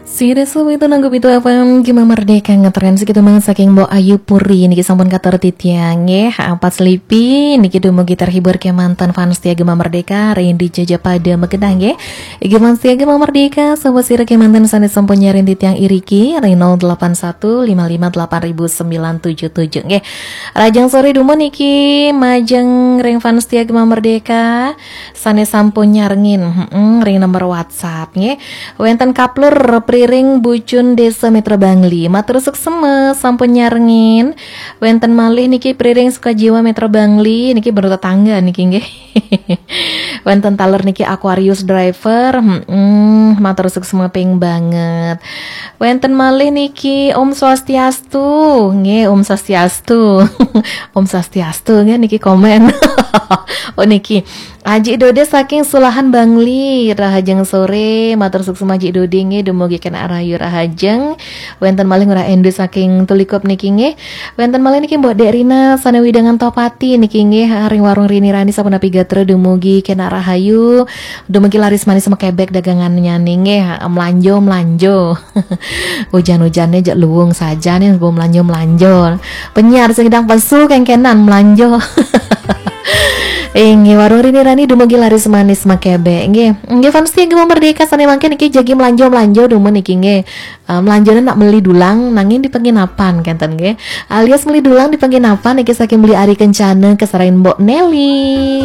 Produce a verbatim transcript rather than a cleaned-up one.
Sida suwi itu nanggup itu apa Gema Merdeka ngetren segitu banget saking Mbok Ayu Puri niki sampun katur titiang nggih. Ha, Pak Slipi niki dumugi terhibur kemanten fans setia Gema Merdeka, Randy Jaja pada Megenah nggih. Gema setia Gema Merdeka, sobat sira kemanten sane sampun nyaring titiang iriki ring nol delapan satu lima lima delapan ribu sembilan tujuh tujuh nggih. Rajang sore dumun niki majeng ring fans setia Gema Merdeka sane sampun nyarengin, heeh, ring nomor WhatsApp nggih. Wenten Kaplur Priring Bucun Desa Mitra Bangli. Matur suksema sampun nyarengin. Wenten malih niki Priring Sukajiwa Mitra Bangli, niki baru tetangga niki nggih. Wenten taler niki Aquarius Driver, heeh, matur suksema ping banget. Wenten malih niki Om Swastiastu, nggih Om Swastiastu. Om Swastiastu nggih niki komen. Oh niki Aji Dode saking Sulahan Bangli, rahajeng sore, matur suksema Aji Dode nggih, dumugi kenak rahayu rahajeng. Wenten malih Ngurah Endu saking Tulikup niki nggih. Wenten malih niki Mbok Dek Rina sane wewidangan Tohpati niki nggih, ring warung Rini Rani sapunapi gatra dumugi kenak rahayu. Dumugi laris manis makebek dagangannya nggih, melanjo melanjo. Hujan-hujannya jak luwung saja nih, gue melanjo melanjo. Penyiar sing sedang pesu kengkenan melanjo. Inggih, warung Rini Rani dumugi laris manis makebek nggih. Nggih fans setia Gema Merdeka sane mangkin niki jagi melanjo-melanjo dumun niki nggih. Eh, melanjone nak meli dulang nanging di penginapan kenten nggih. Alias meli dulang di penginapan niki saking Beli Ari Kencana keserahin Mbok Nelly.